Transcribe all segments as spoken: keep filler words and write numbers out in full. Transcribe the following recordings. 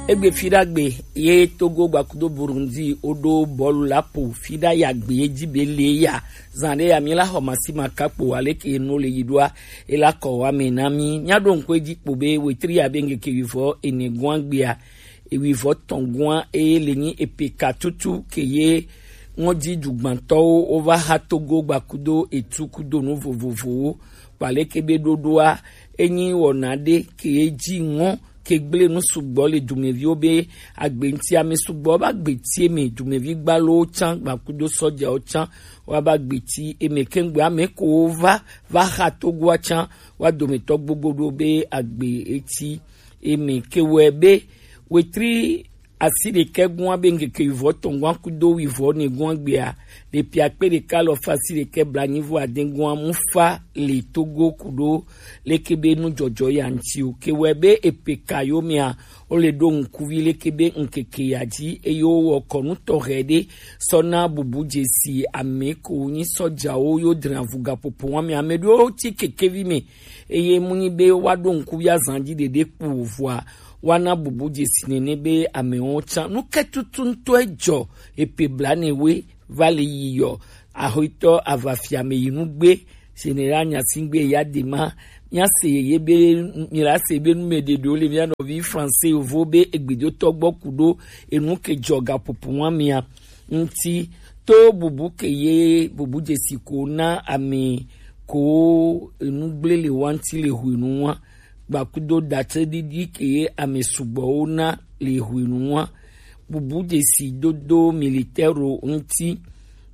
Egbe fiɖagbe ye Togo gbakudo Burundi woɖo bɔlu la po fiɖa ya gbe ye ji be le ya. Zan ɖe ya mi la xɔ masi ma kakpo aleke no le yi ɖoa e la kɔ wa me na mi. Mia ɖo ŋkɔ edzi kpo be wetri ya be ŋkeke wivɔ ene gɔn agbea, ewivɔ tɔn gɔn e le nyi epe ka tutu ke ye ŋɔdzi dugbantɔwo wova xa Togo gbakudo etu kudo nu vovovowo. Kpaleke be ɖoɖoa, enyi wɔna ɖe ke ye ji ŋɔ ke gble nu sugbɔ le dumeviwo be agbe ŋuti. Ame sugbɔ va gbe ti eme, dumevi gbalowo tsã gbakudo sɔjawo tsã wa va gbe ti eme. Kengbe ame ko va va xa Togoa tsã wa dometɔ gbogbo ɖo be agbe eti eme. Ke wɔe be wetri asi ɖekɛ gɔn be ŋkeke wivɔ tɔn gɔn kudo wivɔ ne gɔn gbea, le pia kpe ɖeka lɔ fa asi ɖekɛ blanyi vɔ ade gɔn mu fa le Togo kudo leke be nu jɔjɔ ya ŋuti o. Ke wɔe be epe ka yo mea, wo le ɖo ŋkuvi leke be ŋkeke ya ji eye wo wɔ kɔnu tɔxɛ ɖe sɔ na bubu jesi ame ko nyi sɔjawo yo dra vuga popo wa me ame ɖewo ti kekevi me eye mu nyi be wa ɖo ŋkuvi azan ji ɖeɖe kpo vɔa wa na bubu jesi nene be amewo tsã nu ke tutu ŋutɔ ejɔ epe blane we va le yi yɔ. Axɔetɔ avafia me yi nugbe Général Gnassingbé Eyadema, mia se ye be mi la se be nu me ɖeɖewo le mia nɔvi français yovo be egbedotɔ gbɔ kudo enu ke jɔ gaƒoƒo wa mia ŋuti to bubu ke ye bubu jesi ko na ame ko enu gble le wa ŋuti le hwenu wa gbakudo datse ɖiɖi ke ye ame sugbɔwo na le hwenu wa bubu jesi dodo militaire ŋuti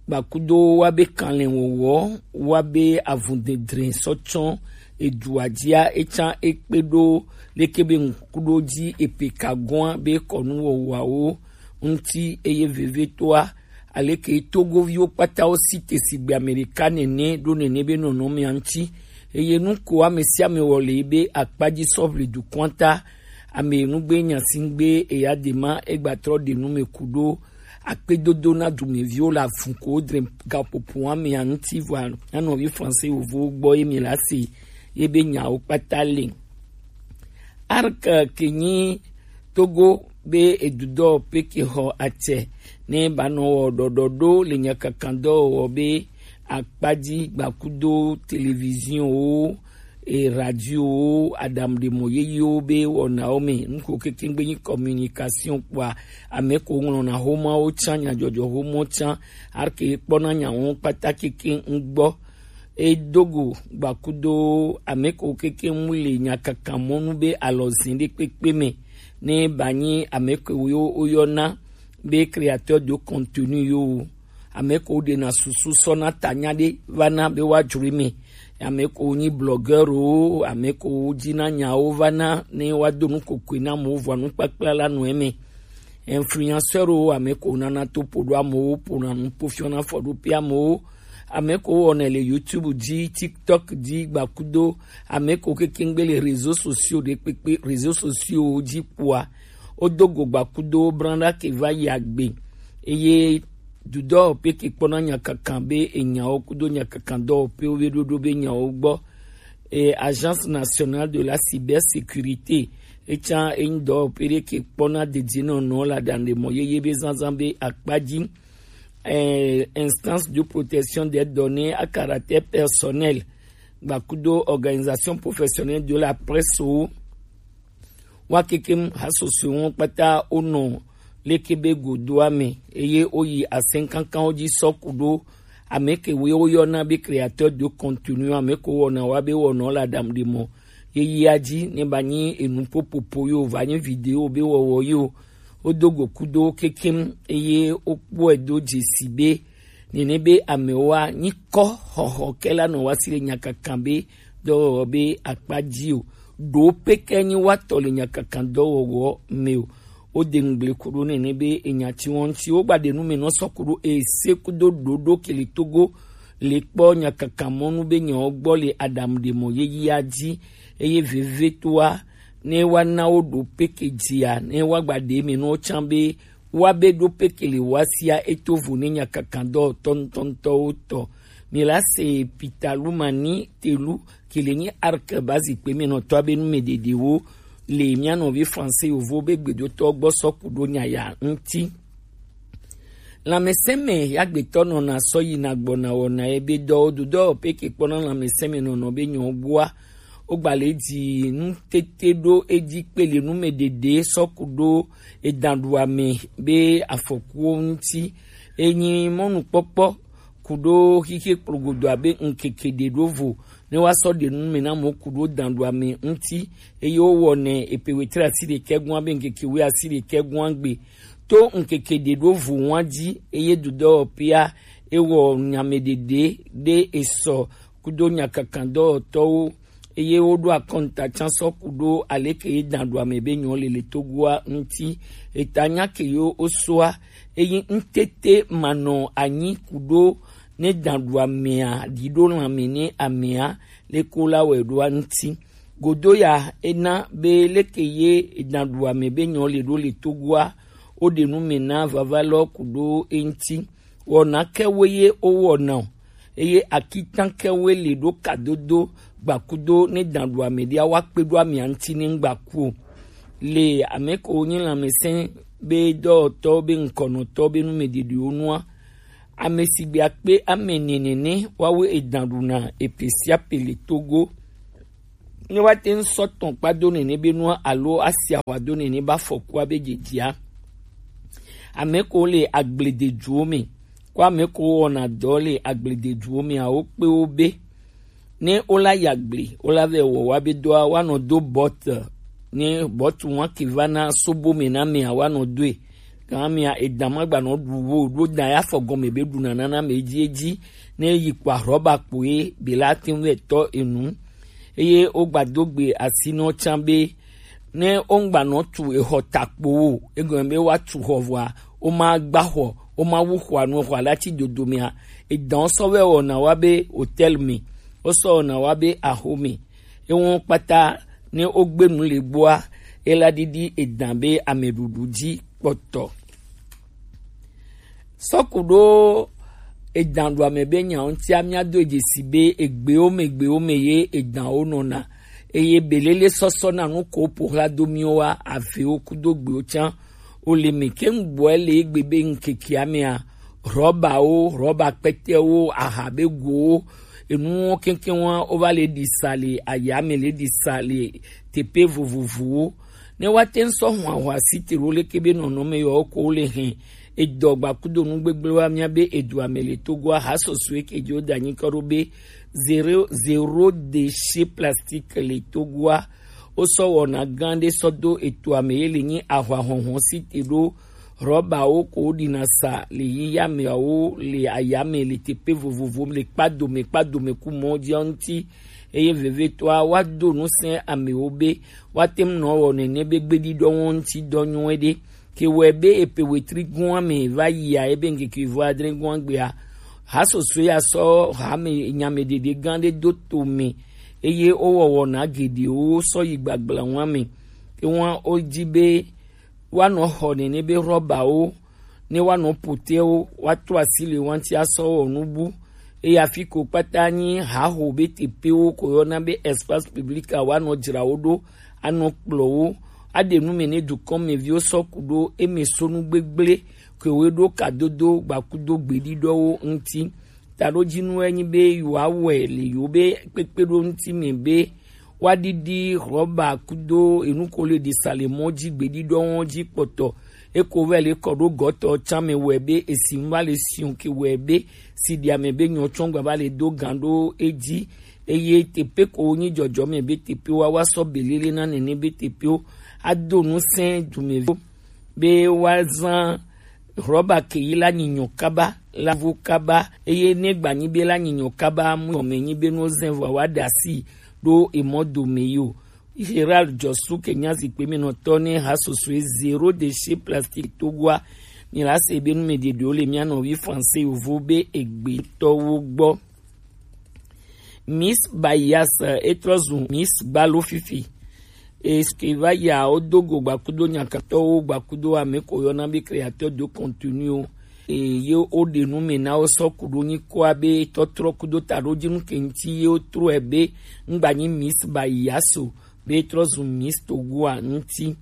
gbakudo wa be kanlɛ wɔwɔ wa be avundedre sɔ tsɔ edua jia etsã ekpe ɖo leke be ŋkuɖo ji epe ka gɔa be kɔnu wɔwɔawo ŋuti eye vevetoa aleke Togoviwo kpata wo si te sigbe Amerika nene ɖo nene be nɔnɔmea ŋuti eye nu ko ame sia ame wɔ le be akpa ji sɔ ʋli dukɔa ta ame nugbe Gnassingbé Eyadema egbatrɔ ɖe nu me kuɖo akpedodo na dumeviwo le avun ko wodre gaƒoƒo wa mea ŋuti vɔa nyanɔvi français yovowo gbɔ ye mi la se ye be nyawo kpata le. Arc ke nyi Togo be edudɔ pe ke xɔ atsɛ ne ba nɔ wɔ ɖɔɖɔ ɖo le nyakakandɔ wɔ be akpadzi gbakudo télévision wo e radio wo aɖaŋuɖemɔ yeyewo be wɔnawo me nuko kekengbe nyi communication kpɔa ame ko ŋlɔna homawo tsã nyadzɔdzɔ homo tsã arke kpɔna nyawo kpata keke ŋgbɔ edogo gbakudo ame ko keke mu le nyakaka mɔnu be alɔzin ɖe kpekpe me ne ba nyi ame ko yo woyɔna be créateur de contenu yo ame ko ɖena susu sɔna tanya ɖe va na be wa dzro me ame ko nyi blogueur o ame ko dzi na nyawo va na ne wa do nu kokui na mo vɔ nu kpakpla la nu eme influenceur o ame ko nana to po ɖo amewo pona nu po fiɔna fɔ ɖo pe amewo ame ko wɔnɛ le YouTube dzi TikTok dzi gbakudo ame ko kekengbe le réseaux sociaux ɖe kpekpe réseaux sociaux dzi kpoa wodo go gbakudo branda ke va yi agbe eye dudɔ pe ke kpɔna nyakaka be enyawo kudo nyakaka dɔwɔƒewo be ɖoɖo be nyawo gbɔ e Agence Nationale de la Cybersécurité etsã enyi dɔwɔƒe ɖe ke kpɔna dedienɔnɔ le aɖaŋuɖemɔ yeye be zazã be akpa dzi eh, instance de protection des données à caractère personnel gbakudo organisation professionnelle de la presse wo wa kekem hasoso wo kpata wonɔ leke be godoa me eye woyi asɛnkankanwo dzi sɔ ku ɖo ame ke woe woyɔna be créateur de contenu ame ko wɔna wa be wɔnɔ le aɖaŋuɖemɔ yeyea dzi ne ba nyi enu popopo yo va nyi video be wɔwɔ yo wodo go kudo kekem eye wokpɔe do dzesi be nene be amewoa nyi kɔ xɔxɔ ke la nɔ wa si le nyakaka be dɔwɔwɔ be akpa dzi o ɖo peke nyi wa tɔ le nyakaka dɔwɔwɔ me o wode ŋugble ku ɖo nene be enya tsi wɔn tsi wogba ɖe nu me nɔ sɔ ku ɖo ese kudo ɖoɖo ke le Togo le kpɔ nyakaka mɔnu be nyawo gbɔ le aɖaŋuɖemɔ yeyea dzi eye vevetoa ne wa na wo ɖo peke dzia ne wa gba ɖe me nɔ tsã be wa be ɖo peke le wa sia eto vo ne nyakaka dɔ tɔntɔntɔwo tɔ mi la se pita lu mani telu ke le nyi arke ba zikpe me nɔ tɔ be nu me ɖeɖewo le mía nɔvi Français yovo be gbedotɔ gbɔ sɔ ku ɖo nya ya ŋuti. Lãmesẽme ya gbetɔ nɔna sɔ yina gbɔna wɔna ye be dɔ wo do dɔ pe ke kpɔna lãmesẽme nɔnɔ be nyɔ gbɔa. Wo gba le dzi nu tete ɖo edzi kpe le nu me ɖeɖe sɔ ku ɖo edanɖuame be afɔkuwo ŋuti. Enyi mɔnukpɔkpɔ ku ɖo xixe kplogodo abe ŋkeke ɖe ɖo vo ne wa sɔ ɖe nu me na mo ku ɖo danɖuame ŋuti. Eye wo wɔnɛ epe wetri asi ɖekɛ gɔn abe ŋkeke we asi ɖekɛ gɔn gbe to ŋkeke ɖe ɖo vo wa dzi. Eye dudɔ pia ewɔ nyame ɖeɖe ɖe esɔ kudo nyakakandɔwɔtɔwo. Eye woɖo akɔnta can sɔ ku ɖo aleke ye danɖuame be nyɔ le le Togoa ŋuti. Eta nya ke yo wo soa. Eye ŋtete manɔ anyi ku ɖo ne danɖuamea ɖi ɖo lãme ne amea le ko la wɛ ɖoa ŋuti. Godo ya ena be leke ye danɖuame be nyɔ le ɖo le Togoa wo ɖe nu me na vava lɔ ku ɖo eŋuti. Wɔna kɛwoe ye wowɔna o, eye akitan kɛwoe le ɖo kadodo gbakudo ne danɖuame ɖia wa kpe ɖo amea ŋuti ne ŋgbaku o. Le ame ko nyi lãmesẽ be dɔwɔtɔ be ŋkɔnɔtɔ be nu me ɖeɖewo nua, ame sigbe akpe ame nene ne wawe edanɖuna epe sia pe le Togo. Ne wa te ŋ sɔ tɔn kpa do nene be nua alo asi ahwa do nene ba fɔkua be dzedzia. Ame ko le agblededuwo me, ko ame ko wɔna dɔ le agblededuwo me awo kpe wo be. Ne wo la ya gble, wo la vɛ wɔ wa be dɔa wa nɔ do bɔt. Ne bɔt wa ke va na sobo me na mea wa nɔ doe. Gan mea edan ma gba nɔ ɖu wo ɖo dan ya fɔ gɔme be ɖu nana na me edzi edzi. Ne yi kpa rɔba kpo ye be la te ŋu vɛ tɔ enu. Eye wo gba do gbe asi nɔ can be ne wo ŋgba nɔ tu exɔ takpo wo, egɔme be wa tu xɔ vɔa, wo ma gba xɔ, wo ma wu xɔa nu, xɔa la ci dodo mea, edan sɔ vɛ wɔna wa be hôtel me, wo sɔ wɔna wa be axo me. Ewo kpata ne wo gbe nu le gbɔa, e la ɖiɖi edan be ameɖuɖu dzi kpɔtɔ. Sɔ ku ɖo edan ɖo ame be nya ŋutia mía do dzesi be egbewo me gbewo me ye edanwo nɔna. Eye belele sɔsɔ na nu ko po xla do mí wa avewo kudo gbewo can. O le me ke ŋgbɔe le egbe be ŋkekea mea, rɔbawo, rɔba kpɛtɛwo, aha be gowo, enuwo keŋkeŋ wa wo va le ɖi sa le ayame le ɖi sa le teƒe vovovowo. Ne wa te ŋ sɔ hwa hwa si te ɖo leke be nɔnɔme yɔ ko le hɛn edɔ gbakudo nu gbegble wa mía be edu ame le Togoa ha sɔsɔe ke dzo da nyi kɔ ɖo be zéro, zéro déchet plastique le Togoa. Wo sɔ wɔna gã ɖe sɔ do eto ame ye le nyi ahwa hɔhɔ si te ɖo rɔbawo ko wo ɖina sa le yiya meawo le ayame le teƒe vovovo le kpa dome kpa dome ku mɔ dzia ŋuti. Eye vevetɔa wa do nu sɛ amewo be wa te ŋu nɔ wɔ nene be gbeɖiɖɔ ŋuti dɔ nyuie ɖe. Ke wɔe be epe wetri gɔa me va yia ebe ŋkeke vɔ adre gɔa gbea, ha sɔsɔe ya sɔ ha me nyame ɖeɖe gã ɖe do to me, eye wo wɔwɔ na geɖewo sɔ yi gbagbla ŋua me. Ke ŋua wo dzi be wa nɔ xɔ nene be rɔbawo ne wa nɔ potewo wa to asi le wa ŋuti asɔ wɔ nubu. Eye afi ko kpata nyi haho be teƒewo ko yɔna be espace public a wa nɔ dzra wo ɖo anɔ kplɔ wo aɖe nu me ne dukɔmeviwo sɔ ku ɖo eme so nu gbegble ke wo ɖo kadodo gbakudo gbeɖiɖɔwo ŋuti. Taɖodzinu enyi be yewoawɔe le yewo be kpekpeɖo ŋuti me be woaɖiɖi rɔba kudo enu ko le ɖi sa le mɔ dzi gbeɖiɖɔwo dzi kpɔtɔ. Eko vɛ le kɔ ɖo gɔtɔ can me wɔe be esi ŋu va le siun ke wɔe be si ɖi ame be nyɔ tsɔn gba va le do gan ɖo edzi. Eye teƒe ko nyi dzɔdzɔme be teƒewo wa sɔ belele na nene be teƒewo ado nu sɛ dumeviwo be woazã rɔba ke yi la nyinyɔ kaba la vo kaba. Eye ne gba nyi be la nyinyɔ kaba mu yɔ me nyi be no zɛ vɔ wa da si ɖo emɔ dome yi o. Gérald Jɔsu ke nya zikpe me nɔtɔ ne ha sosoe zéro déchet plastique Togoa. Mi la se be nu me ɖeɖewo le mía nɔvi français yovo be egbe tɔwo gbɔ. Miss Bayas etrɔ zu Miss Gbalo fifi. Eske va ya wo do go gbakudo nyakatɔwo gbakudo ame ko yɔna be créateur de contenu o. E, ye wo ɖe nu me na wo sɔ ku ɖo nyi kɔa be tɔtrɔ kudo taɖodzinu ke ŋuti ye wo trɔe be ŋgba nyi Miss Bayas o. be trɔ zu Miss Togo a ŋuti.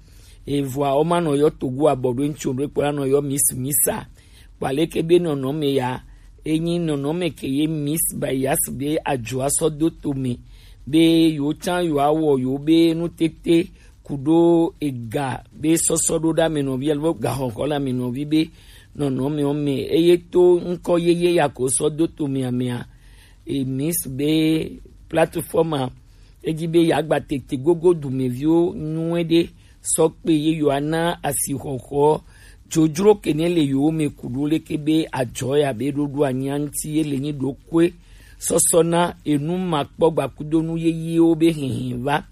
Evɔa, woma nɔ yɔ Togo a bɔ ɖo ŋuti o, ɖo ekpɔ la nɔ yɔ Miss Misa. Kpɔ aleke be nɔnɔme ya, enyi nɔnɔme ke ye Miss Bayas be ajoa sɔ do to me, be yewo tsã yewoawɔ yewo be nutete kuɖo ega be sɔsɔ ɖo ɖa me nɔvi alo gahɔhɔ la me nɔvi be nɔnɔme ɔ me, eye to ŋkɔ yeye ya ko sɔ do to mea mea, e Miss be plateforme a, edzi be yeagba tete gogo dumeviwo nyuie ɖe sɔ kpe ye yewoana asixɔxɔ dzodzro ke ne le yewo me kuɖo leke be adzɔ ya be ɖoɖo anyia ŋuti ye le nyi ɖokoe sɔsɔ na enu makpɔgba kudo nu yeyewo be hihi va.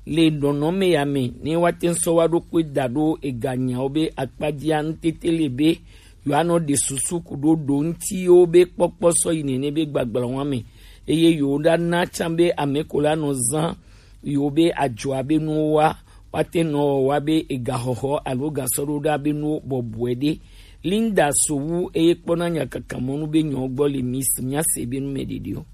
Le nɔnɔme ya me, ne woate ŋu sɔ wa ɖo kpe da ɖo eganyawo be akpa dzia, ŋutete le be yewoanɔ ɖe susu kuɖo ɖo ŋutiwo be kpɔkpɔ sɔ yi nene be gbagblawon me, eye yewoɖana tsã be ame ko la nɔ zã yewo be ajoa be nuwo wa, woate nɔ wa be egahɔhɔ alo gasɔɖoɖa be nuwo bɔbɔe ɖe. Linda Sowu eye kpɔna nyakakamɔnu be nyawo gbɔ le Miss, míase be nu me ɖeɖi o.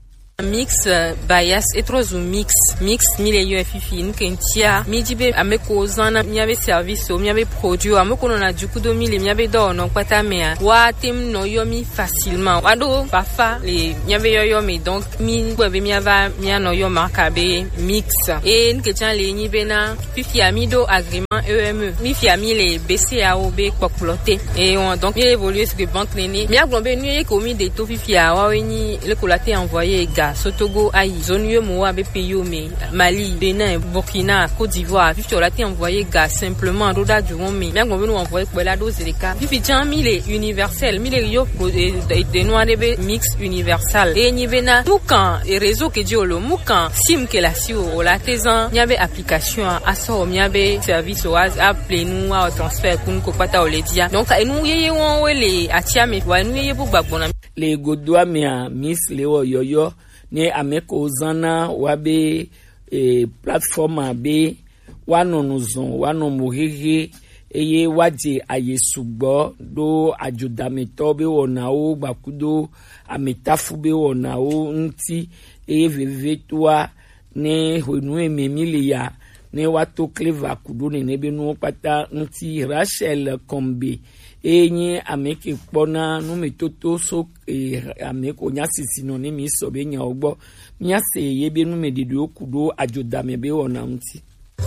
Mix, euh, Bias etrɔ zu Mix. Mix mi le yɔ fifi, nu ke ŋutia mi di be ame ko zana miabe service o, miabe produit o, ame ko nɔna dzuku do mi le miabe dɔwɔnɔ kpata mea, woate ŋu nɔ yɔ mi facilement. Woaɖo fafa le miabe yɔyɔ me, donc mi gbɔ be miava mianɔ yɔ marque be Mix. Eye nu ke tsã le nyi bena fifia mi ɖo agrément E M E. Mi fia mi le B C A O be kpɔkplɔ te. Eye wɔn, donc mi évolue sur banque nene. Miagblɔ be nu ye ko mi ɖe to fifia woawoe nyi leke wòle ate envoyer ga so Togo ayi zone yo mo wa be pays yo me, Mali, Bénin, Burkina, Côte d'Ivoire, fifia wòle ate envoyer ga simplement ɖo ɖa du wɔn me. Miagblɔ be nu envoyer kpɔe la ɖo zi ɖeka. Fifi tsã mi le universel, mi le yɔ kpo, e, e, de nua ɖe be Mix universal. Eye nyi bena nu kan, e, réseau ke dzi wòle o, mu kan sim ke le asiwò o, wòle ate zã miabe application a, asɔ wɔ miabe service o, a, aple nu, awɔ transfert ku nu ko kpata wòle dzia. Donc enu yeye wɔn wo le atia me, wa enu yeye bu gbagbɔna. Le godoa mea, Miss le wɔ yɔyɔ ne ame ko zana wa be, e, plateforme a be woanɔ nu zɔn, woanɔ mo hehe, eye woadze aye sugbɔ ɖo adzodametɔ be wɔnawo gbakudo ametafu be wɔnawo ŋuti, eye vevetoa ne hwenu eme mi le ya, ne woato kleva kuɖo nene be nuwo kpata ŋuti. Rachel Kombe eye nye ame ke kpɔna numetoto so, e, ame ko nya sisi nɔ ne mi sɔ be nyawo gbɔ. Míase ye be numeɖeɖewo ku ɖo adzodame be wɔna ŋuti.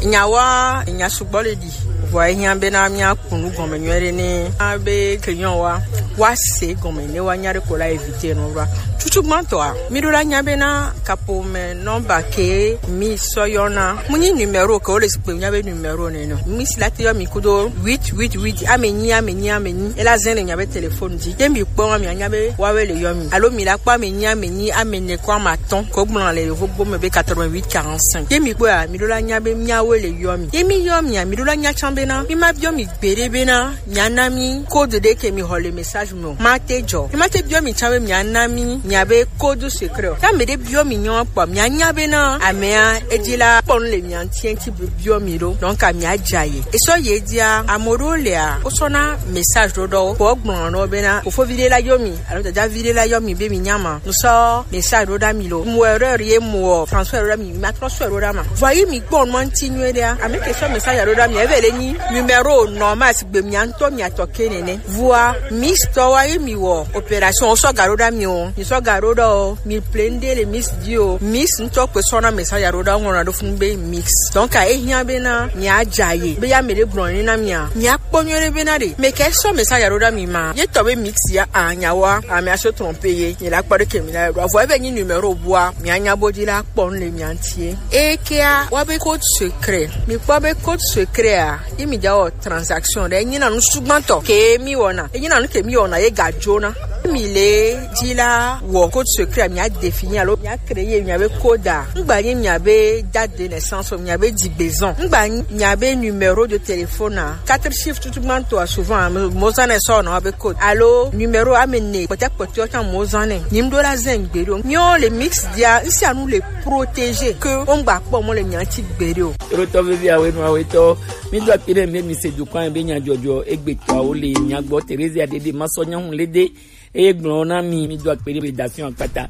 Nyawoa, nya sugbɔ le ɖi. Vɔa ehiã bena míaku nu gɔme nyuie ɖe ne abe client wa, woase gɔme ne woanya ɖe ko la éviter nɔ ɖoa. Tutugbãtɔa, mi ɖo la nya bena kapo me nɔmba ke mi sɔ yɔna. Mu nyi numéro ke wo le zikpui nya be numéro nɛ nɔ. Mi si la te yɔ mi kudo huit huit huit, ame nyi, ame nyi, ame nyi. Ela zɛn le mia be téléphone dzi. Ye mi kpɔ ma mia nya be woawoe le yɔ mi. Alo mi la kpɔ ame nyi, ame nyi, ame ene kɔ ame atɔ̃ ko gblɔ le yovogbo me be quatre-vingt-huit quarante-cinq. Ye mi kpɔa, mi ɖo la nya be miawoe le yɔ mi. Ye mi yɔ mia, mi ɖo la nya tsã bena mi ma biɔ mi gbeɖe bena miana mi code ɖe ke mi xɔ le message me o. Ma te dzɔ. Mi ma te biɔ mi tsã be miana mi mia be code secret o. Ya ame ɖe biɔ mi nyɔ kpɔ, mia nya bena amea edzi la kpɔ nu le mia ŋuti, eŋuti biɔ mi ɖo. Donc, amia dza ye. Esɔ ye dzia, ame ɖewo lea, wosɔna message ɖo ɖɔ wo. Kpɔ gblɔ nɔ bena, fofovi ɖe la yɔ mi, alo dadavi ɖe la yɔ mi be mi nya ma. Ŋsɔ message ɖo ɖa mi lo. Mo erreur ye mo transfert ɖo ɖa mi, ma transfert ɖo ɖa ma. Vɔ yi mi kpɔ nua ŋuti nyuie ɖea. Ame ke sɔ message ɖo ɖa mi, eve le nyi numéro normal sigbe mia ŋutɔ mia tɔ ke nene. Vɔa, Miss tɔ wa ye mi wɔ opération, wosɔ ga ɖo ɖa mi o. Mi sɔ ga ɖo ɖa o. Mi plein de le Miss di o. Miss ŋutɔ kpe sɔna message ɖo ɖa, ŋlɔna ɖo funu be Mix. Donc, a, ehiã bena mia dza ye. Be ya me ɖe gblɔ ne na mia. Mia kpɔ nyuie ɖe bena ɖe. Me ke sɔ message ɖo ɖa mi ma. Ye tɔ be Mix ya a nya wa. A, mia se tromper ye. Ye la kpɔ ɖe ke mi la ɖo. Vɔ ebe nyi numéro bua. Mia nya bo di la kpɔ nu le mia ŋuti ye. Ekea, wa be code secret. Mi kpɔ be code secret a. Ye mi dza wɔ transaction ɖe, enyi na nu sugbãtɔ ke mi wɔna. Enyi na nu ke mi wɔna ye ga dzona. Mi le dzi la wɔ code secret, mia définir alo mia créer mia be code a. Ŋgba nyi mia be date de naissance o, mia be dzigbezɔn. Ŋgba nyi mia be numéro de téléphone a. Quatre chiffres tutugbãtɔ a souvent mo zãnɛ sɔ na be code. Alo numéro ame ene kpɔtɛ kpɔtɛ tsã mo zãnɛ. Nyim ɖo la zɛn gbe ɖo. Miɔ le Mix dia, ŋsia nu le protéger ke wo ŋgba kpɔ mɔ le mia ŋuti gbeɖe o. Eɖotɔ vevi awe nu awe tɔ. Mi do akpe ɖe mi be mi se dukɔa be nyadzɔdzɔ egbetɔawo le mia gbɔ. Theresia Dede Masɔ Nyahun Lede eye gblɔ na mi, mi do akpe ɖe rédaction akpata.